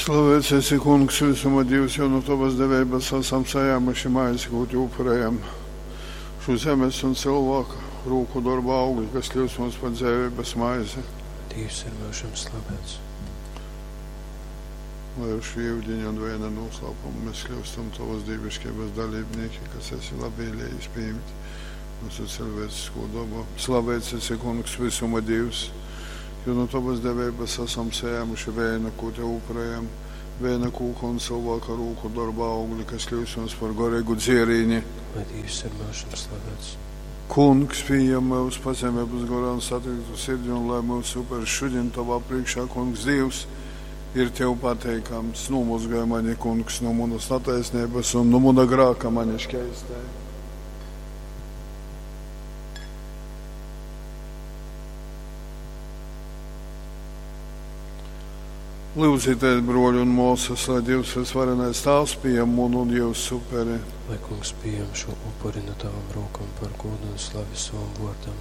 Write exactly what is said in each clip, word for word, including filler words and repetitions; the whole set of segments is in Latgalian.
Slavēts esi, Kungs, visuma Dīvs, jo no Tavas deveibas esam sajēmuši maizi, ko Te upurējam. Šo zemes un cilvēka rūku darba augļi, kas kļūst mums par dzēvības maizi. Dievs ir mūžam slavēts. Lai ar šo ūdeņu un vēna noslēpumu mēs kļūstam Tavas dievišķības dalībnieki, kas esi labvēlējis pieņemt mūsu cilvēcisko dabu. Slavēts esi, Kungs, visuma Dievs, jo no Tavas deveibas esam saņēmuši vēnu, ko Tev upurējam, vēna kūka un cilvēka rūku darba augļi, kas kļūst mums par garīgu dzierīni. Lai Dievs ir mūžam slavēts. Kungs, pieņem mūs pazemības garā un satriektu sirdi, un lai mūsu uperis šodien Tavā priekšā, Kungs, Dievs, ir Tev pateikams. Nomazgāj mani, Kungs, no manas netaisnības un no mana grāka mani šķeistē. Lūdzieties, broļi un māsas, lai Dievs visvarenais Tēvs pieņem manu un jūsu uperi. Lai Kungs pieņem šo upuri no Tavām rokām par godu un slavi savam vārdam,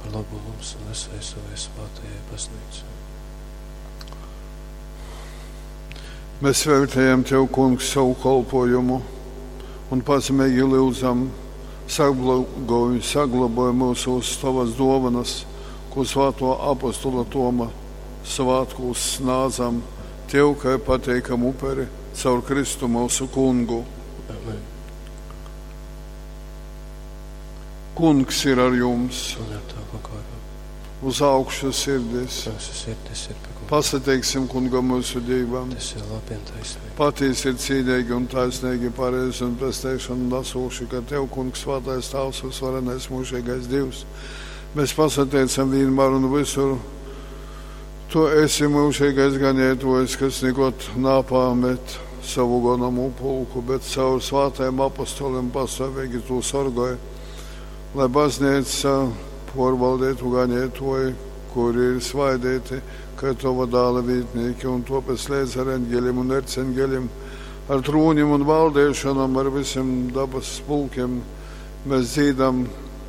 par labu mums un visai savai svētajai baznīcai. Mēs vērtējam Tev, Kungs, savu kalpojumu un pazemīgi lūdzam, saglabāj, saglabāj mūsu uz Tavas dovanas, ko svēto apostula Toma svētkos snādzam Tev, kā pateikam uperi, caur Kristu mūsu Kungu. Amen. Kungs ir ar jums, Un ar Tavu garu. uz augšu sirdis. Mūsu sirdis ir pie Kunga. Pasateiksim Kungam mūsu Dievam. Tas ir labi un taisnīgi. Patiesi ir cīnīgi un taisnīgi, pareizi un pesteikšana nesoši, ka Tev, Kungs, svētais Tēvs, visvarenais mūžīgais Dievs, mēs pasateicam vienmēr un visur. Tu esi mūžīgais ganītājs, kas nekad napāmet savu ganamu pulku, bet caur svētajiem apostoliem pastāvīgi to sargāja, lai baznīca pārvaldītu ganītāji, kuri ir svaidīti, kā tava dāla vītnieki, un tāpēc līdz ar eņģeļiem un erceņģeļiem, ar trūņiem un valdīšanām, ar visiem dabas pulkiem, mēs dzīdam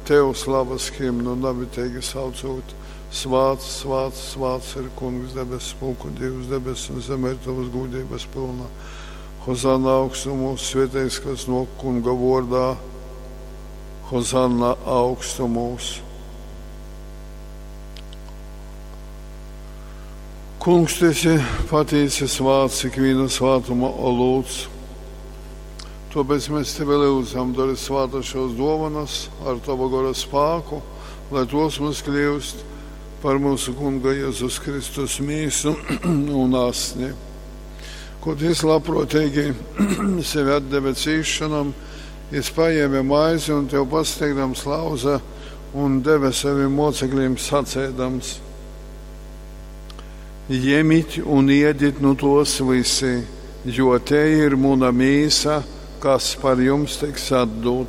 Tev slavas himnu, namitīgi saucot. Svāts, svāts, svāts ir Kungs debesu pulku Dievs, debes un zeme ir Tavas gūdības pilna. Hozanna augstumos, svētīgs, kas no Kunga vārdā. Hozanna augstumos. Kungs, tu esi patiesi svāts, ikviena svātuma olūts. Tāpēc mēs tevi lūdzam, dari svātas šos dovanas ar tava gara spēku, lai tos mums kļūst par mūsu Kunga Jēzus Kristus mīsu un asni. Ko jis labprātīgi sevi atdeva cīšanam, jis paņēma maizi un tev pasteigdams lauza un deva saviem mocekļiem sacēdams: Ņemiet un iediet nu tos visi, jo te ir muna mīsa, kas par jums tiks atdota.